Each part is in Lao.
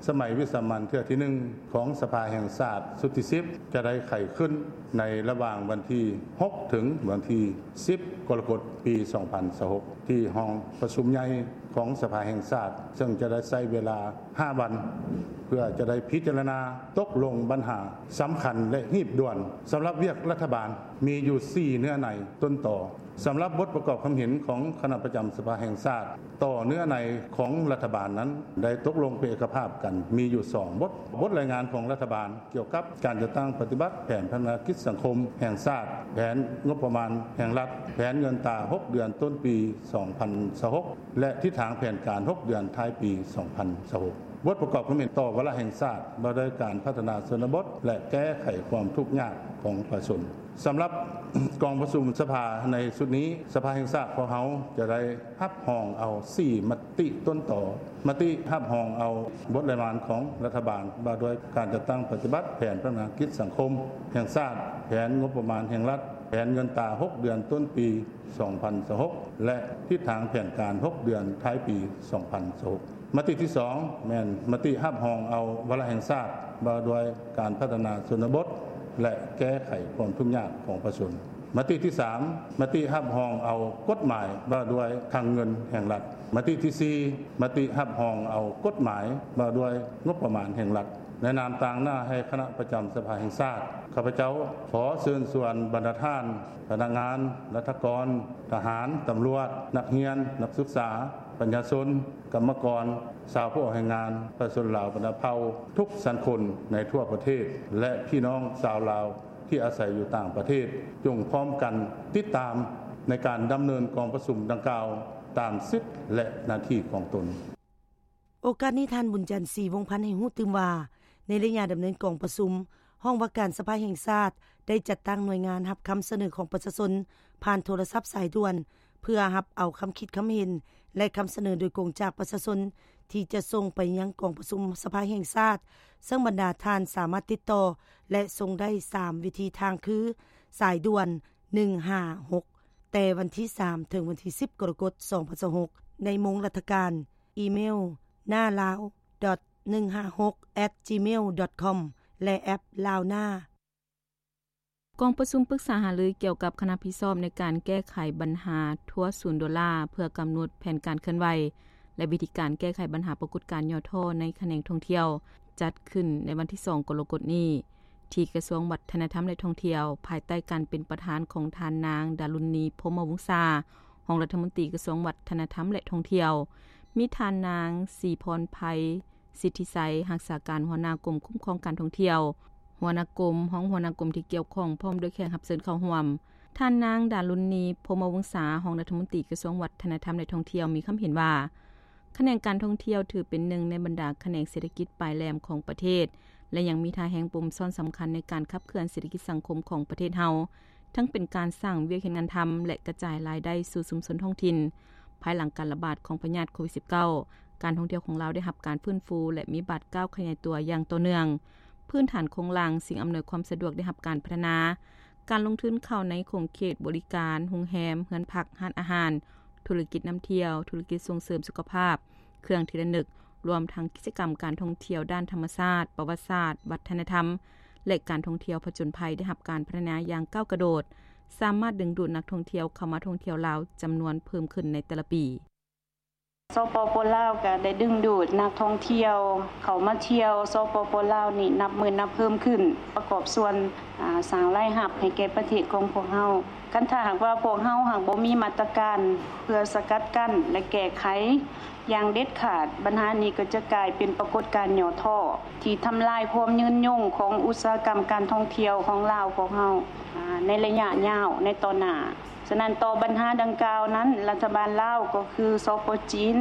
ສະໄໝວິສາມັນເທື່ອທີໜຶ່ງຂອງສະພາແຫ່ງຊາດຊຸດທີສິບ ຈະໄດ້ໄຂຂຶ້ນໃນລະຫວ່າງວັນທີຫົກ ເຖິງວັນທີສິບ ກໍລະກົດ ປີສອງພັນຊາວຫົກ ທີ່ຫ້ອງປະຊຸມໃຫຍ່ຂອງສະພາແຫ່ງຊາດ, ເຊິ່ງຈະໄດ້ໃຊ້ເວລາຫ້າວັນ ເພື່ອຈະໄດ້ພິຈາລະນາຕົກລົງບັນຫາສຳຄັນ ແລະ ຮີບດ່ວນ. ສຳລັບວຽກລັດຖະບານມີຢູ່ສີ່ເນື້ອໃນຕົ້ນຕໍ. ສຳລັບບົດປະກອບຄຳເຫັນຂອງຄະນະປະຈຳສະພາແຫ່ງຊາດຕໍ່ເນື້ອໃນຂອງລັດຖະບານນັ້ນ ໄດ້ຕົກລົງເປັນເອກະພາບກັນມີຢູ່ສອງບົດ. ບົດລາຍງານຂອງລັດຖະບານກ່ຽວກັບການຈັດຕັ້ງປະຕິບັດແຜນພັດທະນາກິດສັງຄົມແຫ່ງຊາດ, ແຜນງົບປະມານແຫ່ງລັດ, ແຜນເງິນຕາຫົກເດືອນຕົ້ນປີສອງພັນຊາວຫົກ ແລະ ທິດທາງແຜນການຫົກເດືອນທ້າຍປີສອງພັນຊາວຫົກ. ບົດປະກອບຄຳເຫັນຕໍ່ວາລະແຫ່ງຊາດວ່າດ້ວຍການພັດທະນາຊົນນະບົດ ແລະ ແກ້ໄຂຄວາມທຸກຍາກຂອງປະຊາຊົນ. ສຳລັບກອງປະຊຸມສະພາໃນຊຸດນີ້, ສະພາແຫ່ງຊາດຂອງເຮົາຈະໄດ້ຮັບຮອງເອົາສີ່ມະຕິຕົ້ນຕໍ. ມະຕິຮັບຮອງເອົາບົດລາຍງານຂອງລັດຖະບານວ່າດ້ວຍການຈັດຕັ້ງປະຕິບັດແຜນພັດທະນາກິດສັງຄົມແຫ່ງຊາດ, ແຜນງົບປະມານແຫ່ງລັດ, ແຜນເງິນຕາຫົກເດືອນຕົ້ນປີສອງພັນຊາວຫົກ ແລະ ທິດທາງແຜນການຫົກເດືອນທ້າຍປີສອງພັນຊາວຫົກ. ມະຕິທີສອງ ແມ່ນມະຕິຮັບຮອງເອົາວາລະແຫ່ງຊາດວ່າດ້ວຍການພັດທະນາຊົນນະບົດ ແລະ ແກ້ໄຂຄວາມທຸກຍາກຂອງປະຊາຊົນ. ມະຕິທີສາມ ມະຕິຮັບຮອງເອົາກົດໝາຍວ່າດ້ວຍຄັງເງິນແຫ່ງລັດ. ມະຕິທີສີ່ ມະຕິຮັບຮອງເອົາກົດໝາຍວ່າດ້ວຍງົບປະມານແຫ່ງລັດ. ໃນນາມຕາງໜ້າໃຫ້ຄະນະປະຈຳສະພາແຫ່ງຊາດ, ຂ້າພະເຈົ້າຂໍເຊີນຊວນບັນດາທ່ານ ພະນັກງານ, ລັດຖະກອນ, ທະຫານ, ຕຳຫຼວດ, ນັກຮຽນ, ນັກສຶກສາ, ປະຊາຊົນ, ກຳມະກອນ, ຊາວຜູ້ອອກແຮງງານ, ປະຊາຊົນລາວບັນດາເຜົ່າທຸກຊັ້ນຄົນໃນທົ່ວປະເທດ ແລະ ພີ່ນ້ອງຊາວລາວທີ່ອາໄສຢູ່ຕ່າງປະເທດ, ຈົ່ງພ້ອມກັນຕິດຕາມໃນການດຳເນີນກອງປະຊຸມດັ່ງກ່າວຕາມສິດ ແລະ ໜ້າທີ່ຂອງຕົນ. ໂອກາດນີ້ ທ່ານ ບຸນຈັນ ສີວົງພັນ ໃຫ້ຮູ້ຕື່ມວ່າ ໃນໄລຍະດຳເນີນກອງປະຊຸມ, ຫ້ອງວ່າການສະພາແຫ່ງຊາດໄດ້ຈັດຕັ້ງໜ່ວຍງານຮັບຄຳສະເໜີຂອງປະຊາຊົນຜ່ານໂທລະສັບສາຍດ່ວນ ເພື່ອຮັບເອົາຄຳຄິດຄຳເຫັນ ແລະ ຄຳສະເໜີໂດຍກົງຈາກປະຊາຊົນ ທີ່ຈະສົ່ງໄປຍັງກອງປະຊຸມສະພາແຫ່ງຊາດ, ເຊິ່ງບັນດາທ່ານສາມາດຕິດຕໍ່ ແລະ ສົ່ງໄດ້ສາມວິທີທາງຄື ສາຍດ່ວນ ໜຶ່ງຫ້າຫົກ ແຕ່ວັນທີສາມ ເຖິງວັນທີສິບ ກໍລະກົດ ສອງພັນຊາວຫົກ ໃນໂມງລັດຖະການ, ອີເມວ ນາລາວ ໜຶ່ງຫ້າຫົກ ແອັດ ຈີເມວ ດອດຄອມ ແລະ ແອັບລາວນາ. ກອງປະຊຸມປຶກສາຫາລືກ່ຽວກັບຄະນະຜິດຊອບໃນການແກ້ໄຂບັນຫາທົວສູນໂດລາ ເພື່ອກຳນົດແຜນການເຄື່ອນໄຫວ ແລະ ວິທີການແກ້ໄຂບັນຫາປາກົດການຫຍໍ້ທໍ້ໃນຂະແໜງທ່ອງທ່ຽວ ຈັດຂຶ້ນໃນວັນທີສອງ ກໍລະກົດນີ້ ທີ່ກະຊວງວັດທະນະທຳ ແລະ ທ່ອງທ່ຽວ ພາຍໃຕ້ການເປັນປະທານຂອງທ່ານນາງ ດາລຸນນີ ພົມມະວົງສາ ຮອງລັດຖະມົນຕີກະຊວງວັດທະນະທຳ ແລະ ທ່ອງທ່ຽວ, ມີທ່ານນາງ ສີພອນໄພ ສິດທິໄຊ ຮັກສາການຫົວໜ້າກົມຄຸ້ມຄອງການທ່ອງທ່ຽວ, ຫົວໜ້າກົມ, ຮອງຫົວໜ້າກົມທີ່ກ່ຽວຂ້ອງ ພ້ອມດ້ວຍແຂກຮັບເຊີນເຂົ້າຮ່ວມ. ທ່ານນາງ ດາລຸນນີ ພົມມະວົງສາ ຮອງລັດຖະມົນຕີກະຊວງວັດທະນະທຳ ແລະ ທ່ອງທ່ຽວ ມີຄຳເຫັນວ່າ ຂະແໜງການທ່ອງທ່ຽວຖືເປັນໜຶ່ງໃນບັນດາຂະແໜງເສດຖະກິດປາຍແຫຼມຂອງປະເທດ ແລະ ຍັງມີທ່າແຮງປຸ່ມຊ້ອນສຳຄັນໃນການຂັບເຄື່ອນເສດຖະກິດສັງຄົມຂອງປະເທດເຮົາ, ທັງເປັນການສ້າງວຽກເຮັດງານທຳ ແລະ ກະຈາຍລາຍໄດ້ສູ່ຊຸມຊົນທ້ອງຖິ່ນ. ພາຍຫຼັງການລະບາດຂອງພະຍາດໂຄວິດສິບເກົ້າ, ການທ່ອງທ່ຽວຂອງລາວໄດ້ຮັບການຟື້ນຟູ ແລະ ມີບາດກ້າວຂະຫຍາຍຕົວຢ່າງຕໍ່ເນື່ອງ. ພື້ນຖານໂຄງລ່າງ, ສິ່ງອຳນວຍຄວາມສະດວກໄດ້ຮັບການພັດທະນາ. ການລົງທຶນເຂົ້າໃນຂົງເຂດບໍລິການ, ໂຮງແຮມ, ເຮືອນພັກ, ຮ້ານອາຫານ, ທຸລະກິດນຳທ່ຽວ, ທຸລະກິດສົ່ງເສີມສຸຂະພາບ, ເຄື່ອງທີ່ລະນຶກ, ລວມທັງກິດຈະກຳການທ່ອງທ່ຽວດ້ານທຳມະຊາດ, ປະຫວັດສາດ, ວັດທະນະທຳ ແລະ ການທ່ອງທ່ຽວຜະຈົນໄພ ໄດ້ຮັບການພັດທະນາຢ່າງກ້າວກະໂດດ, ສາມາດດຶງດູດນັກທ່ອງທ່ຽວເຂົ້າມາທ່ອງທ່ຽວລາວຈຳນວນເພີ່ມຂຶ້ນໃນແຕ່ລະປີ. ສປປ ລາວ ກໍໄດ້ດຶງດູດນັກທ່ອງທ່ຽວເຂົ້າມາທ່ຽວ ສປປ ລາວ ນີ້ນັບມື້ນັບເພີ່ມຂຶ້ນ, ປະກອບສ່ວນ ອາ ສ້າງລາຍຮັບໃຫ້ແກ່ປະເທດຂອງພວກເຮົາ. ຄັນຖ້າຫາກວ່າພວກເຮົາຫາກບໍ່ມີມາດຕະການເພື່ອສະກັດກັ້ນ ແລະ ແກ້ໄຂຢ່າງເດັດຂາດ, ບັນຫານີ້ກໍຈະກາຍເປັນປາກົດການຫຍໍ້ທໍ້ທີ່ທຳລາຍຄວາມຍືນຍົງຂອງອຸດສາຫະກຳການທ່ອງທ່ຽວຂອງລາວພວກເຮົາ ອາ ໃນໄລຍະຍາວໃນຕໍ່ໜ້າ. ສະນັ້ນ, ຕໍ່ບັນຫາດັ່ງກ່າວນັ້ນ, ລັດຖະບານລາວ ກໍຄື ສປ ຈີນ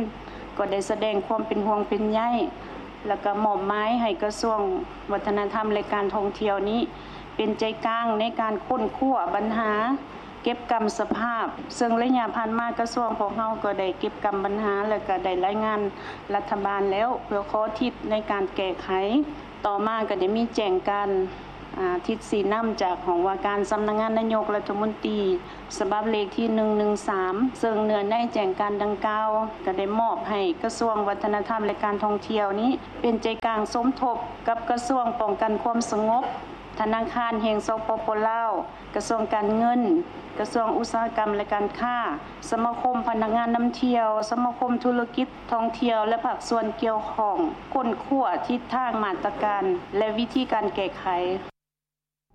ກໍໄດ້ສະແດງຄວາມເປັນຫ່ວງເປັນໃຍ ແລະ ກໍມອບໝາຍໃຫ້ກະຊວງວັດທະນະທຳ ແລະ ການທ່ອງທ່ຽວນີ້ ເປັນໃຈກາງໃນການຄົ້ນຄວ້າບັນຫາເກັບກຳສະພາບ, ເຊິ່ງໄລຍະຜ່ານມາກະຊວງພວກເຮົາກໍໄດ້ເກັບກຳບັນຫາ ແລະ ກໍໄດ້ລາຍງານລັດຖະບານແລ້ວ ເພື່ອຂໍທິດໃນການແກ້ໄຂ. ຕໍ່ມາກໍໄດ້ມີແຈ້ງການ ອາ ທິດຊີ້ນຳຈາກຫ້ອງວ່າການສຳນັກງານນາຍົກລັດຖະມົນຕີ ສະບັບເລກທີໜຶ່ງໜຶ່ງສາມ ເຊິ່ງເນື້ອໃນແຈ້ງການດັ່ງກ່າວ ກໍໄດ້ມອບໃຫ້ກະຊວງວັດທະນະທຳ ແລະ ການທ່ອງທ່ຽວນີ້ ເປັນໃຈກາງສົມທົບກັບກະຊວງປ້ອງກັນຄວາມສະຫງົບ, ທະນາຄານແຫ່ງ ສປປ ລາວ, ກະຊວງການເງິນ, ກະຊວງອຸດສາຫະກຳ ແລະ ການຄ້າ, ສະມາຄົມພະນັກງານນຳທ່ຽວ, ສະມາຄົມທຸລະກິດທ່ອງທ່ຽວ ແລະ ພາກສ່ວນກ່ຽວຂ້ອງ ຄົ້ນຄວ້າທິດທາງ, ມາດຕະການ ແລະ ວິທີການແກ້ໄຂ.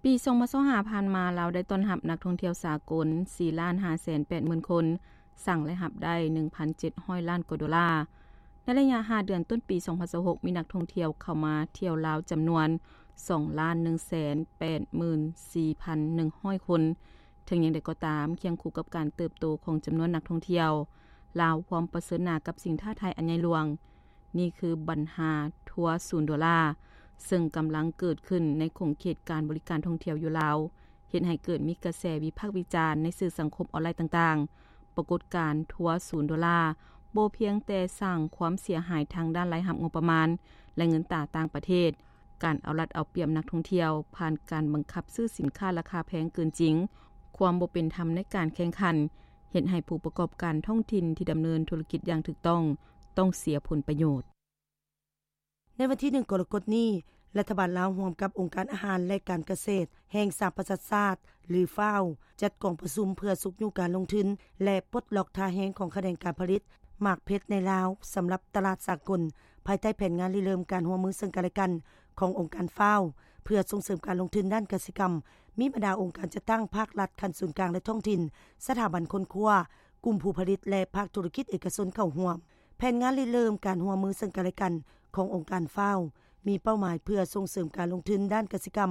ປີສອງພັນຊາວຫ້າຜ່ານມາ, ລາວໄດ້ຕ້ອນຮັບນັກທ່ອງທ່ຽວສາກົນສີ່ລ້ານຫ້າແສນແປດໝື່ນຄົນ, ສ້າງລາຍຮັບໄດ້ໜຶ່ງພັນເຈັດຮ້ອຍລ້ານກວ່າໂດລາ. ໃນໄລຍະຫ້າເດືອນຕົ້ນປີສອງພັນຊາວຫົກ ມີນັກທ່ອງທ່ຽວເຂົ້າມາທ່ຽວລາວຈຳນວນສອງລ້ານໜຶ່ງແສນແປດໝື່ນສີ່ພັນໜຶ່ງຮ້ອຍຄົນ. ເຖິງຢ່າງໃດກໍຕາມ, ຄຽງຄູ່ກັບການເຕີບໂຕຂອງຈຳນວນນັກທ່ອງທ່ຽວ, ລາວພ້ອມປະເຊີນໜ້າກັບສິ່ງທ້າທາຍອັນໃຫຍ່ຫຼວງ. ນີ້ຄືບັນຫາທົວສູນໂດລາ, ເຊິ່ງກຳລັງເກີດຂຶ້ນໃນຂົງເຂດການບໍລິການທ່ອງທ່ຽວຢູ່ລາວ, ເຮັດໃຫ້ເກີດມີກະແສວິພາກວິຈານໃນສື່ສັງຄົມອອນລາຍຕ່າງໆ. ປາກົດການທົວສູນໂດລາບໍ່ພຽງແຕ່ສ້າງຄວາມເສຍຫາຍທາງດ້ານລາຍຮັບງົບປະມານ ແລະ ເງິນຕາຕ່າງປະເທດ, ການເອົາລັດເອົາປຽບນັກທ່ອງທ່ຽວຜ່ານການບັງຄັບຊື້ສິນຄ້າລາຄາແພງເກີນຈິງ, ຄວາມບໍ່ເປັນທຳໃນການແຂ່ງຂັນ, ເຮັດໃຫ້ຜູ້ປະກອບການທ້ອງຖິ່ນທີ່ດຳເນີນທຸລະກິດຢ່າງຖືກຕ້ອງ ຕ້ອງເສຍຜົນປະໂຫຍດ. ໃນວັນທີໜຶ່ງ ກໍລະກົດນີ້, ລັດຖະບານລາວຮ່ວມກັບອົງການອາຫານ ແລະ ການກະເສດແຫ່ງສະຫະປະຊາຊາດ ຫຼື FAO ຈັດກອງປະຊຸມເພື່ອຊຸກຍູ້ການລົງທຶນ ແລະ ປົດລັອກທ່າແຮງຂອງຂະແໜງການຜະລິດໝາກເພັດໃນລາວ ສຳລັບຕະຫຼາດສາກົນ, ພາຍໃຕ້ແຜນງານລິເລີ່ມການຮ່ວມມືເຊິ່ງກັນ ແລະ ກັນຂອງອົງການ FAO ເພື່ອສົ່ງເສີມການລົງທຶນດ້ານກະສິກຳ. ມີບັນດາອົງການຈັດຕັ້ງພາກລັດຂັ້ນສູນກາງ ແລະ ທ້ອງຖິ່ນ, ສະຖາບັນຄົ້ນຄວ້າ, ກຸ່ມຜູ້ຜະລິດ ແລະ ພາກທຸລະກິດເອກະຊົນເຂົ້າຮ່ວມ. ແຜນງານລິເລີ່ມການຮ່ວມມືເຊິ່ງກັນ ແລະ ກັນຂອງອົງການ FAO ມີເປົ້າໝາຍເພື່ອສົ່ງເສີມການລົງທຶນດ້ານກະສິກຳ,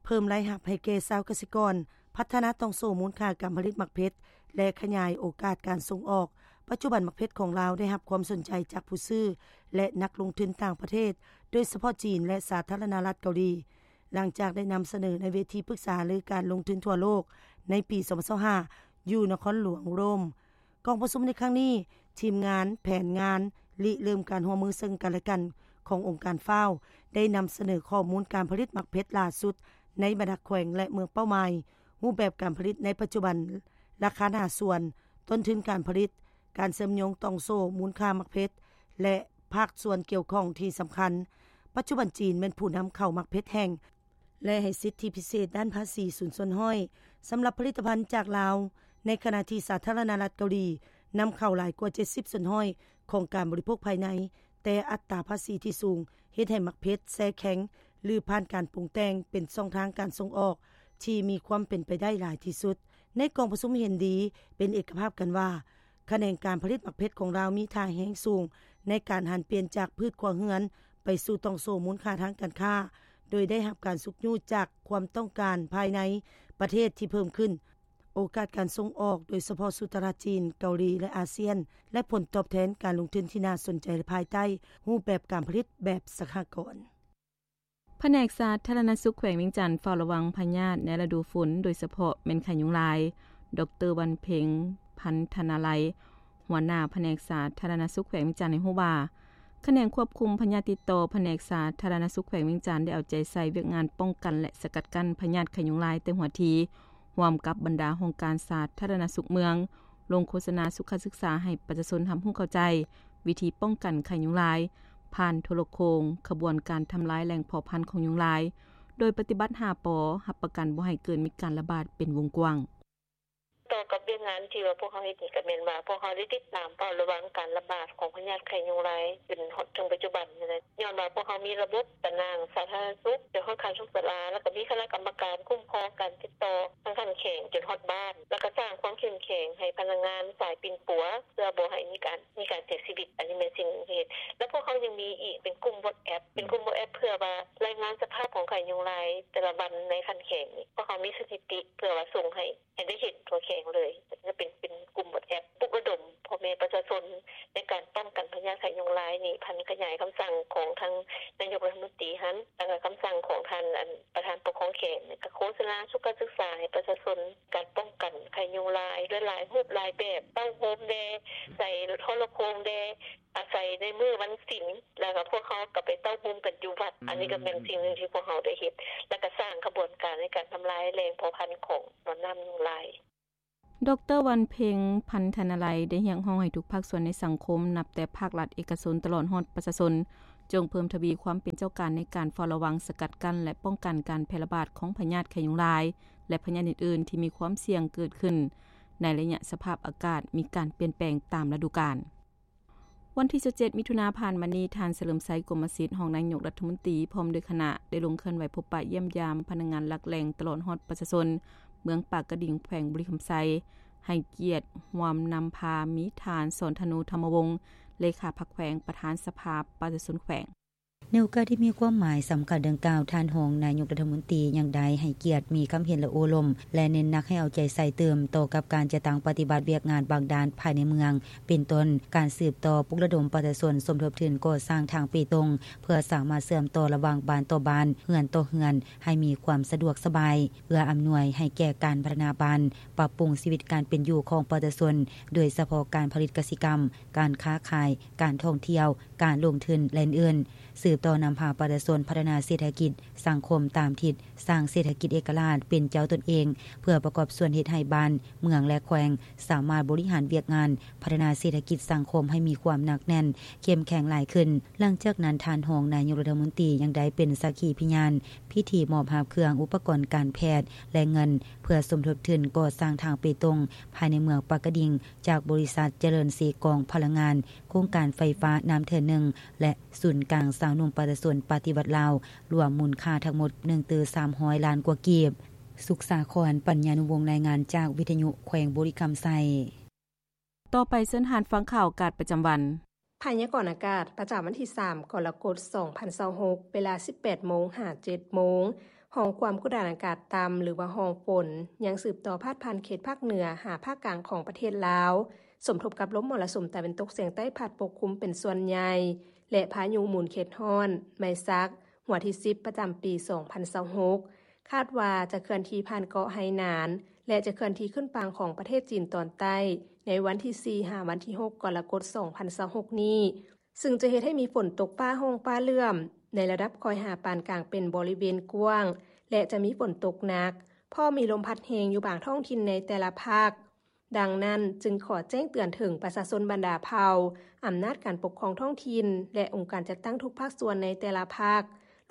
ເພີ່ມລາຍຮັບໃຫ້ແກ່ຊາວກະສິກອນ, ພັດທະນາຕ່ອງໂສ້ມູນຄ່າການຜະລິດໝາກເພັດ ແລະ ຂະຫຍາຍໂອກາດການສົ່ງອອກ. ປັດຈຸບັນໝາກເພັດຂອງລາວໄດ້ຮັບຄວາມສົນໃຈຈາກຜູ້ຊື້ ແລະ ນັກລົງທຶນຕ່າງປະເທດ, ໂດຍສະເພາະຈີນ ແລະ ສາທາລະນະລັດເກົາຫຼີ, ຫຼັງຈາກໄດ້ນຳສະເໜີໃນເວທີປຶກສາຫາລືການລົງທຶນທົ່ວໂລກໃນປີສອງພັນຊາວຫ້າ ຢູ່ນະຄອນຫຼວງໂຣມ. ກອງປະຊຸມໃນຄັ້ງນີ້, ທີມງານແຜນງານລິເລີ່ມການຮ່ວມມືເຊິ່ງກັນ ແລະ ກັນຂອງອົງການ FAO ໄດ້ນຳສະເໜີຂໍ້ມູນການຜະລິດໝາກເພັດຫຼ້າສຸດໃນບັນດາແຂວງ ແລະ ເມືອງເປົ້າໝາຍ, ຮູບແບບການຜະລິດໃນປັດຈຸບັນ, ລາຄາໜ້າສວນ, ຕົ້ນທຶນການຜະລິດ, ການເຊື່ອມໂຍງຕ່ອງໂສ້ມູນຄ່າໝາກເພັດ ແລະ ພາກສ່ວນກ່ຽວຂ້ອງທີ່ສຳຄັນ. ປັດຈຸບັນຈີນແມ່ນຜູ້ນຳເຂົ້າໝາກເພັດແຫ້ງ ແລະ ໃຫ້ສິດທິພິເສດດ້ານພາສີສູນສ່ວນຮ້ອຍສຳລັບຜະລິດຕະພັນຈາກລາວ, ໃນຂະນະທີ່ສາທາລະນະລັດເກົາຫຼີນຳເຂົ້າຫຼາຍກວ່າເຈັດສິບສ່ວນຮ້ອຍຂອງການບໍລິໂພກພາຍໃນ, ແຕ່ອັດຕາພາສີທີ່ສູງເຮັດໃຫ້ໝາກເພັດແຊ່ແຂງ ຫຼື ຜ່ານການປຸງແຕ່ງເປັນຊ່ອງທາງການສົ່ງອອກທີ່ມີຄວາມເປັນໄປໄດ້ຫຼາຍທີ່ສຸດ. ໃນກອງປະຊຸມເຫັນດີເປັນເອກະພາບກັນວ່າ, ຂະແໜງການຜະລິດໝາກເພັດຂອງລາວມີທ່າແຮງສູງໃນການຫັນປ່ຽນຈາກພືດຄົວເຮືອນໄປສູ່ຕ່ອງໂສ້ມູນຄ່າທາງການຄ້າ, ໂດຍໄດ້ຮັບການຊຸກຍູ້ຈາກຄວາມຕ້ອງການພາຍໃນປະເທດທີ່ເພີ່ມຂຶ້ນ, ໂອກາດການສົ່ງອອກ, ໂດຍສະເພາະສູ່ຕະຫຼາດຈີນ, ເກົາຫຼີ ແລະ ອາຊຽນ, ແລະ ຜົນຕອບແທນການລົງທຶນທີ່ໜ້າສົນໃຈພາຍໃຕ້ຮູບແບບການຜະລິດແບບສະຫະກອນ. ພະແນກສາທາລະນະສຸກແຂວງວຽງຈັນເຝົ້າລະວັງພະຍາດໃນລະດູຝົນ, ໂດຍສະເພາະແມ່ນໄຂ້ຍຸງລາຍ. ດອກເຕີ ວັນເພັງ ພັນທະນາໄລ, ຫົວໜ້າພະແນກສາທາລະນະສຸກແຂວງວຽງຈັນ ໃຫ້ຮູ້ວ່າ, ຂະແໜງຄວບຄຸມພະຍາດຕິດຕໍ່ ພະແນກສາທາລະນະສຸກແຂວງວຽງຈັນ ໄດ້ເອົາໃຈໃສ່ວຽກງານປ້ອງກັນ ແລະ ສະກັດກັ້ນພະຍາດໄຂ້ຍຸງລາຍແຕ່ຫົວທີ, ຮ່ວມກັບບັນດາຫ້ອງການສາທາລະນະສຸກເມືອງ, ລົງໂຄສະນາສຸຂະສຶກສາໃຫ້ປະຊາຊົນຮັບຮູ້ເຂົ້າໃຈ ວິທີປ້ອງກັນໄຂ້ຍຸງລາຍ ຜ່ານໂທລະໂຄ່ງ, ຂະບວນການທຳລາຍແຫຼ່ງເພາະພັນຂອງຍຸງລາຍ, ໂດຍປະຕິບັດຫ້າ ປ, ຮັບປະກັນບໍ່ໃຫ້ເກີດມີການລະບາດເປັນວົງກວ້າງ. ຕໍ່ກັບວຽກງານທີ່ວ່າພວກເຮົາເຮັດນີ້ ກໍແມ່ນວ່າພວກເຮົາໄດ້ຕິດຕາມເຝົ້າລະວັງການລະບາດຂອງພະຍາດໄຂ້ຍຸງລາຍ ຈົນຮອດເຖິງປັດຈຸບັນນີ້ແຫຼະ. ຍ້ອນວ່າພວກເຮົາມີລະບົບຕາໜ່າງສາທາລະນະສຸກ ຈົນຮອດຂັ້ນສຸກສາລາ, ແລ້ວກໍມີຄະນະກຳມະການຄຸ້ມຄອງການຕິດຕໍ່ທາງຂັ້ນແຂວງຈົນຮອດບ້ານ, ແລ້ວກໍສ້າງຄວາມເຂັ້ມແຂງໃຫ້ພະນັກງານສາຍປິ່ນປົວ ເພື່ອບໍ່ໃຫ້ມີການ ມີການເສຍຊີວິດ. ອັນນີ້ແມ່ນສິ່ງທີ່ເຮັດ. ແລ້ວພວກເຮົາຍັງມີອີກເປັນກຸ່ມ WhatsApp ເປັນກຸ່ມ WhatsApp ເພື່ອວ່າລາຍງານສະພາບຂອງໄຂ້ຍຸງລາຍແຕ່ລະວັນໃນຂັ້ນແຂວງນີ້. ພວກເຮົາມີສະຖິຕິເພື່ອວ່າສົ່ງໃຫ້ ໃຫ້ໄດ້ເຫັນທົ່ວແຂວງເລີຍ. ຈະເປັນ ເປັນກຸ່ມ WhatsApp ປຸກລະດົມພໍ່ແມ່ປະຊາຊົນໃນການປ້ອງກັນພະຍາດໄຂ້ຍຸງລາຍນີ້, ພັນຂະຫຍາຍຄຳສັ່ງຂອງທາງ ນາຍົກລັດຖະມົນຕີຫັ້ນ ແລ້ວກໍຄຳສັ່ງຂອງທ່ານ ອັນ ປະທານປົກຄອງແຂວງ ກໍໂຄສະນາສຸກການສຶກສາໃຫ້ປະຊາຊົນ ການປ້ອງກັນໄຂ້ຍຸງລາຍ ຫຼາຍຮູບຫຼາຍແບບ ເຕົ້າໂຮມແດ່ ໃສ່ໂທລະໂຄ່ງແດ່ ອາໄສໃນມື້ວັນສິນ ແລ້ວກໍພວກເຮົາກໍໄປເຕົ້າໂຮມກັນຢູ່ວັດ. ອັນນີ້ກໍແມ່ນສິ່ງໜຶ່ງທີ່ພວກເຮົາໄດ້ເຮັດ ແລ້ວກໍສ້າງຂະບວນການໃນການທຳລາຍແຫຼ່ງເຜົ່າພັນຂອງໜອນນ້ຳຍຸງລາຍ. ດຣ. ວັນເພັງ ພັນທະນາໄລ ໄດ້ຮຽກຮ້ອງໃຫ້ທຸກພາກສ່ວນໃນສັງຄົມ ນັບແຕ່ພາກລັດ, ເອກະຊົນ ຕະຫຼອດຮອດປະຊາຊົນ ຈົ່ງເພີ່ມທະວີຄວາມເປັນເຈົ້າການໃນການເຝົ້າລະວັງ, ສະກັດກັ້ນ ແລະ ປ້ອງກັນການແຜ່ລະບາດຂອງພະຍາດໄຂ້ຍຸງລາຍ ແລະ ພະຍາດອື່ນໆ ທີ່ມີຄວາມສ່ຽງເກີດຂຶ້ນ ໃນໄລຍະສະພາບອາກາດມີການປ່ຽນແປງຕາມລະດູການ. ວັນທີຊາວເຈັດ ມິຖຸນາຜ່ານມານີ້, ທ່ານ ສະເຫຼີມໄຊ ກົມມະສິດ ຮອງນາຍົກລັດຖະມົນຕີ ພ້ອມດ້ວຍຄະນະ ໄດ້ລົງເຄື່ອນໄຫວພົບປະຢ້ຽມຢາມພະນັກງານຫຼັກແຫຼ່ງຕະຫຼອດຮອດປະຊາຊົນ ເມືອງປາກກະດິງ ແຂວງບໍລິຄຳໄຊ, ໃຫ້ກຽດຮ່ວມນຳພາມີທ່ານ ສອນທະນູ ທຳມະວົງ ເລຂາພັກແຂວງ, ປະທານສະພາປະຊາຊົນແຂວງ. ໃນໂອກາດທີ່ມີຄວາມໝາຍສຳຄັນດັ່ງກ່າວ, ທ່ານຮອງນາຍົກລັດຖະມົນຕີຍັງໄດ້ໃຫ້ກຽດ, ມີຄຳເຫັນ ແລະ ໂອ້ລົມ ແລະ ເນັ້ນໜັກໃຫ້ເອົາໃຈໃສ່ຕື່ມຕໍ່ກັບການຈັດຕັ້ງປະຕິບັດວຽກງານບາງດ້ານພາຍໃນເມືອງ, ເປັນຕົ້ນ ການສືບຕໍ່ປຸກລະດົມປະຊາຊົນສົມທົບທຶນກໍ່ສ້າງທາງເປຕົງ ເພື່ອສາມາດເຊື່ອມຕໍ່ລະຫວ່າງບ້ານຕໍ່ບ້ານ, ເຮືອນຕໍ່ເຮືອນ ໃຫ້ມີຄວາມສະດວກສະບາຍ, ເອື້ອອຳນວຍໃຫ້ແກ່ການພັດທະນາບ້ານ, ປັບປຸງຊີວິດການເປັນຢູ່ຂອງປະຊາຊົນ, ໂດຍສະເພາະການຜະລິດກະສິກຳ, ການຄ້າຂາຍ, ການທ່ອງທ່ຽວ, ການລົງທຶນ ແລະ ອື່ນໆ. ສືບຕໍ່ນຳພາປະຊາຊົນພັດທະນາເສດຖະກິດ, ສັງຄົມຕາມທິດສ້າງເສດຖະກິດເອກະລາດເປັນເຈົ້າຕົນເອງ, ເພື່ອປະກອບສ່ວນເຮັດໃຫ້ບ້ານ, ເມືອງ ແລະ ແຂວງ ສາມາດບໍລິຫານວຽກງານພັດທະນາເສດຖະກິດສັງຄົມໃຫ້ມີຄວາມໜັກແໜ້ນ, ເຂັ້ມແຂງຫຼາຍຂຶ້ນ. ຫຼັງຈາກນັ້ນ, ທ່ານຮອງນາຍົກລັດຖະມົນຕີຍັງໄດ້ເປັນສັກຂີພິຍານພິທີມອບຮັບເຄື່ອງອຸປະກອນການແພດ ແລະ ເງິນ ເພື່ອສົມທົບທຶນກໍ່ສ້າງທາງເປຕົງພາຍໃນເມືອງປາກກະດິງ ຈາກບໍລິສັດຈະເລີນເຊກອງພະລັງງານ, ໂຄງການໄຟຟ້ານ້ຳເທີໜຶ່ງ ແລະ ສູນກາງຊາວໜຸ່ມປະຊາຊົນປະຕິວັດລາວ, ລວມມູນຄ່າທັງໝົດໜຶ່ງຕື້ສາມຮ້ອຍລ້ານກວ່າກີບ. ສຸກສາຄອນ ປັນຍານຸວົງ ລາຍງານຈາກວິທະຍຸແຂວງບໍລິຄຳໄຊ. ຕໍ່ໄປເຊີນທ່ານຟັງຂ່າວອາກາດປະຈຳວັນ. ພະຍາກອນອາກາດປະຈຳວັນທີສາມ ກໍລະກົດ ສອງພັນຊາວຫົກ ເວລາ ສິບແປດໂມງ ຫາ ເຈັດໂມງ. ຮ່ອງຄວາມກົດອາກາດຕ່ຳ ຫຼືວ່າຮ່ອງຝົນ ຍັງສືບຕໍ່ພາດຜ່ານເຂດພາກເໜືອຫາພາກກາງຂອງປະເທດລາວ, ສົມທົບກັບລົມມໍລະສຸມຕາເວັນຕົກສຽງໃຕ້ພັດປົກຄຸມເປັນສ່ວນໃຫຍ່ ແລະ ພາຍຸໝູນເຂດຮ້ອນໄມຊັກ ຫົວທີສິບ ປະຈຳປີສອງພັນຊາວຫົກ ຄາດວ່າຈະເຄື່ອນທີ່ຜ່ານເກາະໄຮນານ ແລະ ຈະເຄື່ອນທີ່ຂຶ້ນຝັ່ງຂອງປະເທດຈີນຕອນໃຕ້ ໃນວັນທີສີ່ ຫາ ວັນທີຫົກ ກໍລະກົດ ສອງພັນຊາວຫົກນີ້, ຊຶ່ງຈະເຮັດໃຫ້ມີຝົນຕົກຟ້າຮ້ອງຟ້າເຫຼື້ອມ ໃນລະດັບຄ່ອຍຫາປານກາງເປັນບໍລິເວນກວ້າງ ແລະ ຈະມີຝົນຕົກໜັກ, ພ້ອມມີລົມພັດແຮງຢູ່ບາງທ້ອງຖິ່ນໃນແຕ່ລະພາກ. ດັ່ງນັ້ນ, ຈຶ່ງຂໍແຈ້ງເຕືອນເຖິງປະຊາຊົນບັນດາເຜົ່າ, ອຳນາດການປົກຄອງທ້ອງຖິ່ນ ແລະ ອົງການຈັດຕັ້ງທຸກພາກສ່ວນໃນແຕ່ລະພາກ,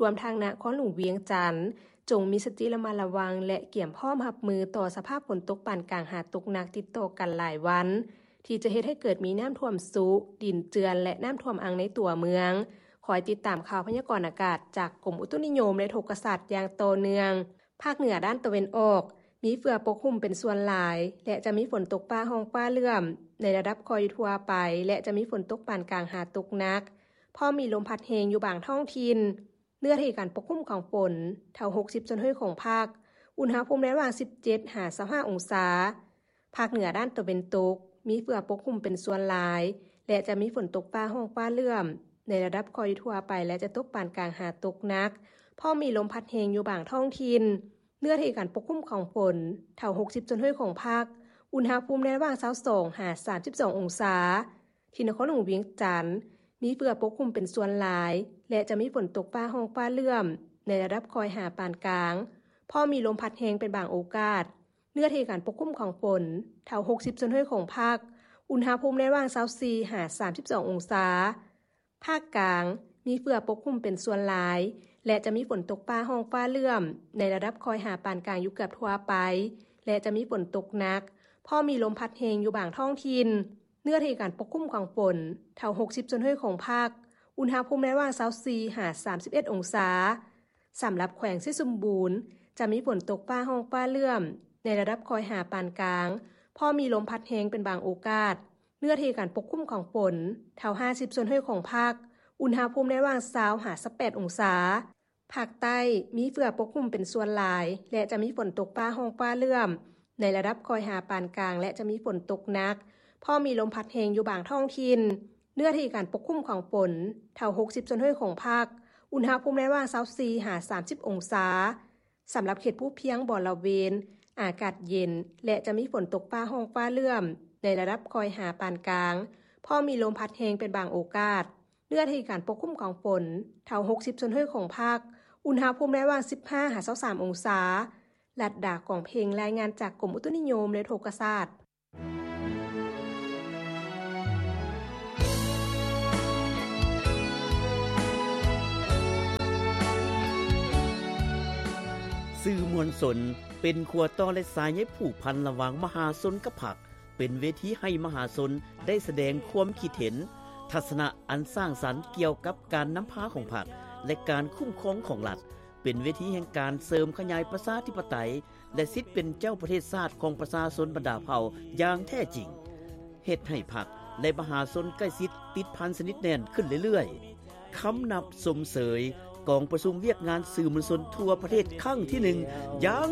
ລວມທັງນະຄອນຫຼວງວຽງຈັນ, ຈົ່ງມີສະຕິລະມັດລະວັງ ແລະ ກຽມພ້ອມຮັບມືຕໍ່ສະພາບຝົນຕົກປານກາງຫາຕົກໜັກຕິດຕໍ່ກັນຫຼາຍວັນ, ທີ່ຈະເຮັດໃຫ້ເກີດມີນ້ຳຖ້ວມຊຸ, ດິນເຈື່ອນ ແລະ ນ້ຳຖ້ວມອັ່ງໃນຕົວເມືອງ. ຄອຍຕິດຕາມຂ່າວພະຍາກອນອາກາດຈາກກົມອຸຕຸນິຍົມ ແລະ ອຸທົກກະສາດຢ່າງຕໍ່ເນື່ອງ. ພາກເໜືອດ້ານຕາເວັນອອກ ມີເຝືອປົກຫຸ້ມເປັນສ່ວນຫຼາຍ ແລະ ຈະມີຝົນຕົກຟ້າຮ້ອງຟ້າເຫຼື້ອມ ໃນລະດັບຄ່ອຍຢູ່ທົ່ວໄປ ແລະ ຈະມີຝົນຕົກປານກາງຫາຕົກໜັກ, ພ້ອມມີລົມພັດແຮງຢູ່ບາງທ້ອງຖິ່ນ. ເນື້ອທີ່ການປົກຄຸມຂອງຝົນ ເທົ່າຫົກສິບສ່ວນຮ້ອຍຂອງພາກ, ອຸນຫະພູມໃນລະຫວ່າງສິບເຈັດຫາຊາວຫ້າອົງສາ. ພາກເໜືອດ້ານຕາເວັນຕົກ ມີເຝືອປົກຄຸມເປັນສ່ວນຫຼາຍ ແລະ ຈະມີຝົນຕົກຟ້າຮ້ອງຟ້າເຫຼື້ອມ ໃນລະດັບຄ່ອຍຢູ່ທົ່ວໄປ ແລະ ຈະຕົກປານກາງຫາຕົກໜັກ, ພ້ອມມີລົມພັດແຮງຢູ່ບາງທ້ອງຖິ່ນ. ເນື້ອທີ່ການປົກຄຸມຂອງຝົນ ເທົ່າຫົກສິບສ່ວນຮ້ອຍຂອງພາກ, ອຸນຫະພູມໃນລະຫວ່າງຊາວສອງຫາສາມສິບສອງອົງສາ. ທີ່ນະຄອນຫຼວງວຽງຈັນ ມີເຝືອປົກຄຸມເປັນສ່ວນຫຼາຍ ແລະ ຈະມີຝົນຕົກຟ້າຮ້ອງຟ້າເຫຼື້ອມ ໃນລະດັບຄ່ອຍຫາປານກາງ, ພ້ອມມີລົມພັດແຮງເປັນບາງໂອກາດ. ເນື້ອທີ່ການປົກຄຸມຂອງຝົນ ເທົ່າຫົກສິບສ່ວນຮ້ອຍຂອງພາກ, ອຸນຫະພູມໃນລະຫວ່າງຊາວສີ່ຫາສາມສິບສອງອົງສາ. ພາກກາງ ມີເຝືອປົກຄຸມເປັນສ່ວນຫຼາຍ ແລະ ຈະມີຝົນຕົກຟ້າຮ້ອງຟ້າເຫຼື້ອມ ໃນລະດັບຄ່ອຍຫາປານກາງຢູ່ເກືອບທົ່ວໄປ ແລະ ຈະມີຝົນຕົກໜັກ, ພ້ອມມີລົມພັດແຮງຢູ່ບາງທ້ອງຖິ່ນ. ເນື້ອທີ່ການປົກຄຸມຂອງຝົນ ເທົ່າຫົກສິບສ່ວນຮ້ອຍຂອງພາກ, ອຸນຫະພູມໃນລະຫວ່າງຊາວສີ່ຫາສາມສິບເອັດອົງສາ. ສຳລັບແຂວງໄຊສົມບູນ ຈະມີຝົນຕົກຟ້າຮ້ອງຟ້າເຫຼື້ອມ ໃນລະດັບຄ່ອຍຫາປານກາງ, ພໍມີລົມພັດແຮງເປັນບາງໂອກາດ. ເນື້ອທີ່ການປົກຄຸມຂອງຝົນ ເທົ່າຫ້າສິບສ່ວນຮ້ອຍຂອງພາກ, ອຸນຫະພູມໃນລະຫວ່າງຊາວຫາຊາວແປດອົງສາ. ພາກໃຕ້ ມີເຝືອປົກຄຸມເປັນສ່ວນຫຼາຍ ແລະ ຈະມີຝົນຕົກຟ້າຮ້ອງຟ້າເຫຼື້ອມ ໃນລະດັບຄ່ອຍຫາປານກາງ ແລະ ຈະມີຝົນຕົກໜັກ, ພໍມີລົມພັດແຮງຢູ່ບາງທ້ອງຖິ່ນ. ເນື້ອທີ່ການປົກຄຸມຂອງຝົນ ເທົ່າຫົກສິບສ່ວນຮ້ອຍຂອງພາກ, ອຸນຫະພູມໃນລະຫວ່າງຊາວສີ່ຫາສາມສິບອົງສາ. ສຳລັບເຂດພູພຽງບໍລະເວນ ອາກາດເຢັນ ແລະ ຈະມີຝົນຕົກຟ້າຮ້ອງຟ້າເຫຼື້ອມ ໃນລະດັບຄ່ອຍຫາປານກາງ, ພ້ອມມີລົມພັດແຮງເປັນບາງໂອກາດ. ເນື້ອທີ່ການປົກຄຸມຂອງຝົນ ເທົ່າຫົກສິບສ່ວນຮ້ອຍຂອງພາກ, ອຸນຫະພູມໃນລະຫວ່າງສິບຫ້າຫາຊາວສາມອົງສາ. ລັດດາ ກອງເພັງ ລາຍງານຈາກກົມອຸຕຸນິຍົມ ແລະ ອຸທົກກະສາດ. ສື່ມວນຊົນເປັນຂົວຕໍ່ ແລະ ສາຍໃຍຜູກພັນລະຫວ່າງມະຫາຊົນກັບພັກ, ເປັນເວທີໃຫ້ມະຫາຊົນໄດ້ສະແດງຄວາມຄິດເຫັນ, ທັດສະນະອັນສ້າງສັນກ່ຽວກັບການນຳພາຂອງພັກ ແລະ ການຄຸ້ມຄອງຂອງລັດ, ເປັນເວທີແຫ່ງການເສີມຂະຫຍາຍປະຊາທິປະໄຕ ແລະ ສິດເປັນເຈົ້າປະເທດຊາດຂອງປະຊາຊົນບັນດາເຜົ່າຢ່າງແທ້ຈິງ, ເຮັດໃຫ້ພັກ ແລະ ມະຫາຊົນໃກ້ຊິດຕິດພັນສະໜິດແໜ້ນຂຶ້ນເລື້ອຍໆ. ຄຳນັບຊົມເຊີຍກອງປະຊຸມວຽກງານສື່ມວນຊົນທົ່ວປະເທດຄັ້ງທີໜຶ່ງ ຢ່າງ